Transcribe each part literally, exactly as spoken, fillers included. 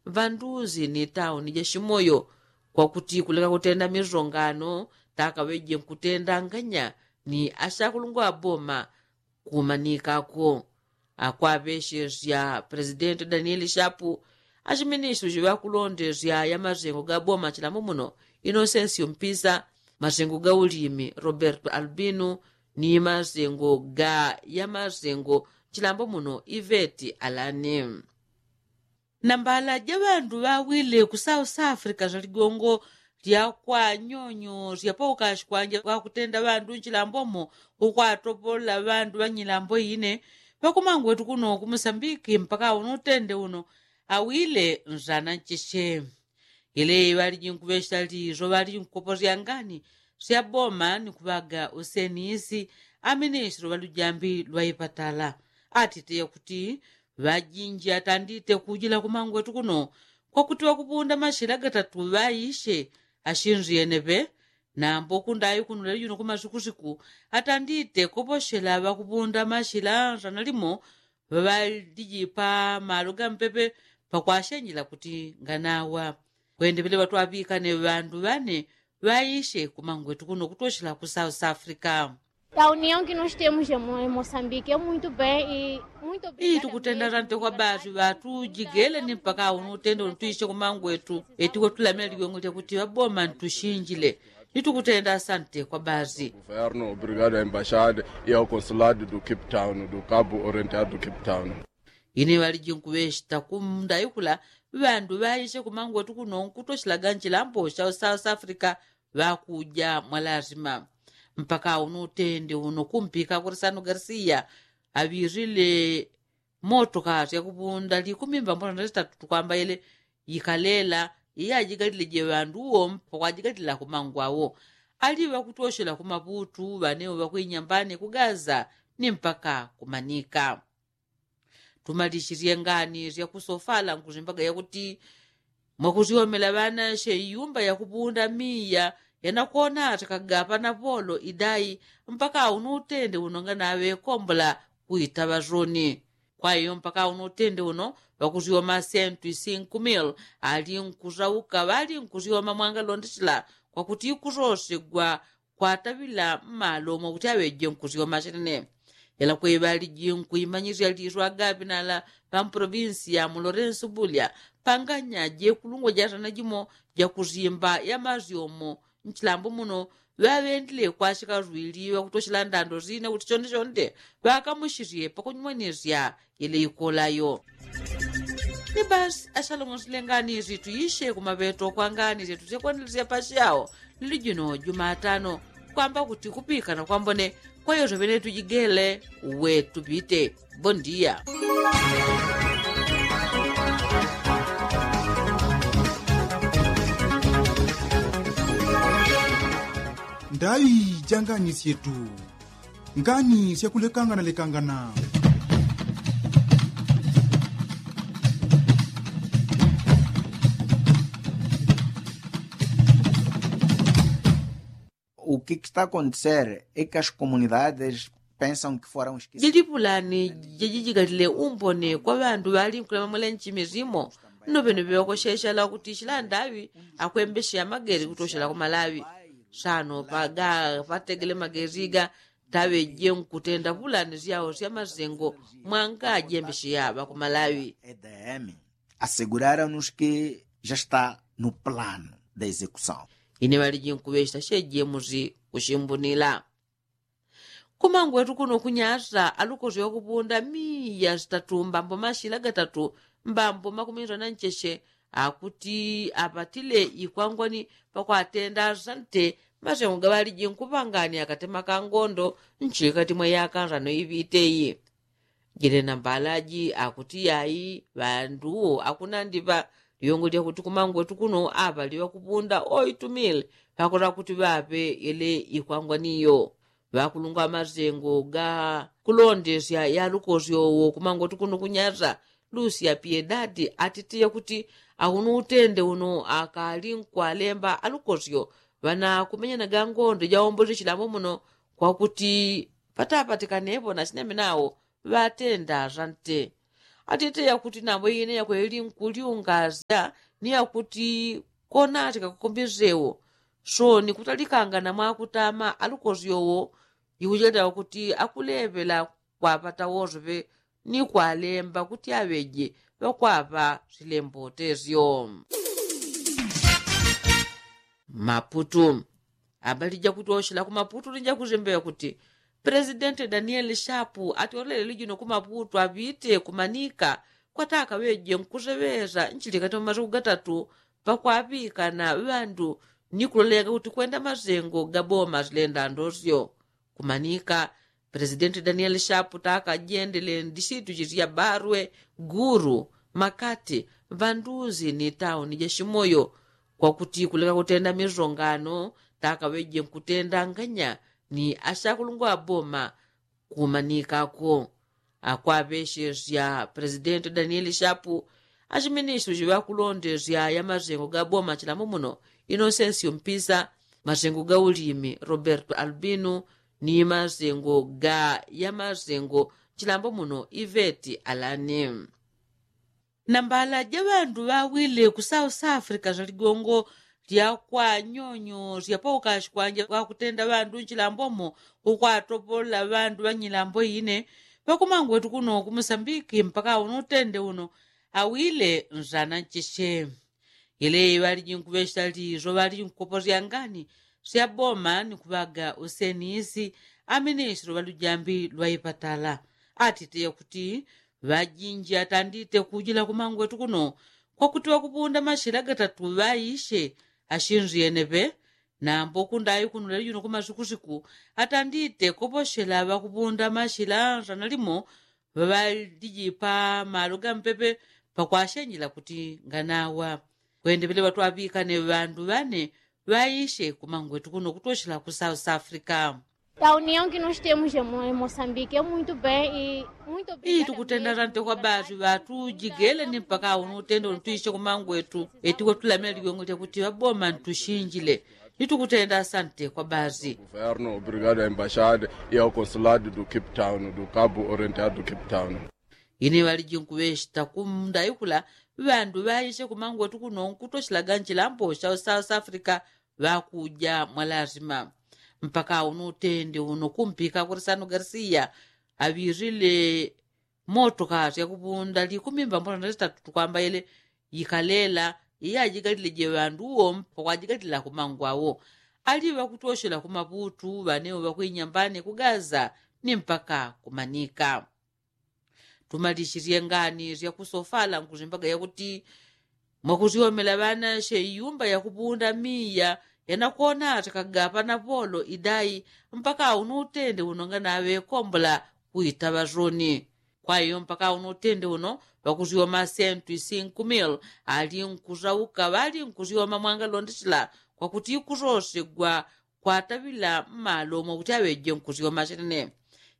ŵanduzi ni tauni ja shimoyo kwakuti kuleka kutenda misongano takaŵeje nkutenda nganya ni ashakulungwa ŵaboma. Kumanikako akwaŵeshesya presidenti danieli shapu, ashiministri shiŵakulondesya ya masengo ga boma chilambo muno, inosensio mpisa, masengo ga ulimi roberto albino, ni masengo ga ya masengo chilambo muno iveti alani. Na mbala ja ŵandu ŵawile ku south africa sya ligongo lya kwa nyonyo sya paukashi kwanja kwakutenda ŵandu nchilambomo ukwatopolola ŵandu ŵa nyilambo ine ŵakumangwetu kuno ku musambiki mpaka uno utende uno. Awile nzana ncheche. Ile ŵaliji nkuŵesha lizo ŵaliji nkukoposya ngani sya boma ni kuŵaga usenisi. Aminisilo ŵalujambi lwa ipatala atite yakuti ŵajinji atandite kujila kumangwetu kuno kwakuti ŵakupunda mashila gatatu ŵaishe ashinziyene ŵe. Nambo kundayi kuno leli juno kumasukusiku atandite koposhela ŵakupunda mashila nzana limo ŵalijipa malo ga mpepe pakwashenjela kuti nganawa. Kwende ŵele ŵatwaŵikane ŵandu ŵane ŵaishe kumangwetu kuno kutoshela ku south africa. Taunion ki nos temos em moçambique é muito bem e muito bili tukutenda sante kwa basi ŵatujigele ni mpaka unu utende uno tuishe kumangwetu eti kwatulamila ligongo lyakuti ŵaboma ntushinjile. Ni tukutenda sante kwa basi. Governo obrigado a embaixada e ao consulado do cape town do cabo orientado do cape town. Ine ŵaliji nkuŵeshita kumunda ikula ŵandu ŵaishe kumangwetu kuno nkutoshelaga nchilambo sha south africa ŵakuja mwalasima. Mpaka uno utende uno kumpika kurisano garisiya aŵirile motoka syakupunda likumi mbambona na sitatu tukwamba ile ikalela iyajigalile je ŵandu uwo mpaka kwajigalila kumangwawo. Ali ŵakutoshela kumaputu ŵanewo ŵakwinyambane kugaza ni mpaka kumanika. Tumalishisye ngani syakusofala nkusimbaga yakuti mwakusyomela ŵanashe iyumba yakupunda miya yanakwona atakagapa na polo idai mpaka uno utende uno nganaŵe kombola kuitaŵa soni. Kwa iyo mpaka uno utende uno ŵakusyoma sentu isinku mil ali nkusauka ŵali nkusyoma mwangalondesela kwakuti ikusosegwa kwataŵila mmalo mwakuti aŵeje nkusyoma shenene. Ela kweŵaliji nkuimanyisya liswa gaŵinala ŵa mprovinsi ya mulorensu bulya panganya jekulungwa jasana jimo jakusimba ya masyomo nchilambo muno ŵaŵendile kwashika swili ŵakutoshela ndando sine kuti chonde chonde ŵakamushisye pakunyumwanisya ile ikolayo. Ni basi ashalong'osile ngani isi tuishe kumaŵeto kwa ngani syetu syakwandilisya pashao lili jino jumatano kwamba kuti kupikana kwambone kwa yoso ŵene tujigele we tupite. Bondia. Ndaŵi ja ngani syetu. Ngani syakulekangana lekangana. O que que está acontecer é que as comunidades pensam que foram jilipulani jajijikalile umbone kwa ŵandu ŵali nkulemamwela nchimi simo. Nno ŵene ŵeŵakosheshela kuti shilandaŵi akwembesheya mageri kutoshela kumalaŵi. Sano paga pategele mageri ga taŵeje nkutenda pulani syao sya masengo mwanga jembesheya ŵakumalaŵi. Aseguraram nos que já está no plano da execução. Ine ŵaliji nkuŵeshita sheje musi kushimbunila. Kumangwetu kuno kunyasa alukosi wakupunda miya sitatu mbambo mashila gatatu mbambo makuminzwa na ncheche akuti apatile ikwangwani pakwatenda sante masengo gaŵaliji nkupangani akatema ka ngondo nchikati mwa yaka nzano iŵiteyi. Jile na mbalaji akuti yayi ŵandu akunandiŵa liyongo lyakuti kumangwetu kuno aŵali ŵakupunda oitumile ŵakota kuti ŵaŵe yele ikwangwaniyo. Ŵakulungwa ŵamasengo ga kulondesya ya lukosyo wo kumangwetu kuno kunyasa lusia piedadi atitiya kuti auno utende uno akali nkwalemba alukosyo ŵanakumenyanaga ngondo jaombosi chilambo muno kwakuti patapatikanepo na chineme nawo ŵatenda sante. Atite yakuti nambwe ine yakweli nkuliungasya ni yakuti konati kakukumbisewo so ni kutalikanga na mwakutama alukosi owo. Ikucheleta kuti akulepela kwapata wosope ni kwalemba kuti aŵeje ŵakwapa silembotesyo. Maputu. Abali jakutoshela ku maputu ni jakusembeŵa kuti presidenti danieli shapu atolele lijino ku maputu aŵite kumanika kwataka ŵeje nkuseŵesa nchilikati mwa masiku gatatu pakwaŵikana ŵandu ni kulolega kuti kwenda masengo ga boma silenda ndosyo. Kumanika presidenti danieli shapu taka jendele ndisitu jisya barwe, guru, makati, ŵanduzi ni tauni ja shimoyo kwakuti kuleka kutenda misongano taka ŵeje nkutenda nganya ni ashakulungwa boma. Kumanikako akwaŵeshesya presidenti danieli shapu, ashiministri jiŵakulondesya ya masengo ga boma chilambo muno, inosensio mpisa, masengo ga ulimi roberto albino, ni masengo ga ya masengo chilambo muno iveti alani. Nambala ja ŵandu ŵawile ku south africa saligongo lya kwanyonyo sya paukashi kwanja kwakutenda ŵandu nchilambomo ukwatopolola ŵandu ŵanyilambo ine ŵakumangwetu kuno ku musambiki mpaka uno utende uno. Awile nzana ncheche. Yeleye ŵaliji nkuŵesha liso ŵaliji nkukoposya ngani sya boma ni kuŵaga usenisi. Aminisilo ŵalujambi lwa ipatala atite yakuti ŵajinji atandite kujila kumangwetu kuno kwakuti ŵakupunda mashila gatatu ŵaishe ashinzi yenepe. Nambo kundayi kuno leli juno kumasukusiku atandite koposhela ŵakupunda mashila nzana limo ŵaŵalijipa malo gampepe pakwashenjela kuti nganawa. Kwende ŵele ŵatwaŵikane ŵandu ŵane ŵaishe kumangwetu kuno kutoshela ku south africa. Tauni yongi nostemu jemo emosambike muito bem e muito bem. Tukutenda sante kwa basi ŵatujigele ni mpaka uno utende uno tuishe kumangwetu eti kwatulamila ligongo lyakuti ŵaboma ntushinjile. Nitukutenda sante kwa basi. Governo obrigado a embaixada e ao consulado do cape town do cabo orientado do cape town. Ine ŵaliji nkuŵeshita kumunda ikula ŵandu ŵaishe kumangwetu kuno nkutoshelaga nchilambo sha south africa ŵakuja mwalasima. Mpaka uno utende uno kumpika kurisano garsia aŵirile motoka syakupunda likumi mbambola na litatu tukwamba yele ikalela iyajigalile je ŵandu uwo mpaka kwajigalila kumangwawo. Ali ŵakutoshela kumaputu ŵanewo ŵakwinyambane kugaza ni mpaka kumanika. Tumalishisye ngani syakusofala nkusimbaga yakuti mwakusyomela ŵanashe iyumba yakupunda miya yanakwona atikagapa na polo idai mpaka uno utende uno nganaŵekombola kuitaŵa soni. Kwa iyo mpaka uno utende uno ŵakusyoma sentu isinku mil ali nkusauka ŵali nkusyoma mwangalondesela kwakuti ikusosegwa kwataŵila mmalo mwakuti aŵeje nkusyoma shenene.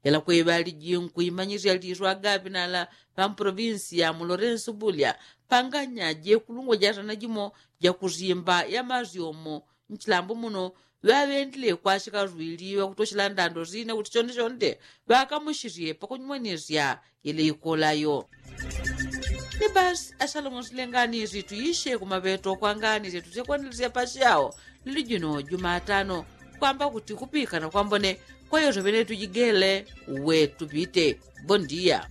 Yalakwe ŵaliji nkuimanyisya liswa gaŵinala ŵamuprovinsi ya mu lorensu bulya panganya jekulungwa jasana jimo jakusimba yamasyomo nchilambo muno ŵaŵendile kwashika swili ŵakutoshela ndando sine kuti shonde shonde ŵakamushisye pakunyumwanisya yele ikolayo. Ni basi asalomo silengani situishe kumaŵeto kwa ngani setusekwanelesya pashao lili juno jumatano kwamba kuti kupikana kwambone kwa yoso ŵene tujigele we tupite. Bondia.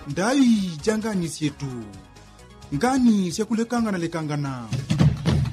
Ndai ja ngani syetu. Ngani syakulekangana lekangana.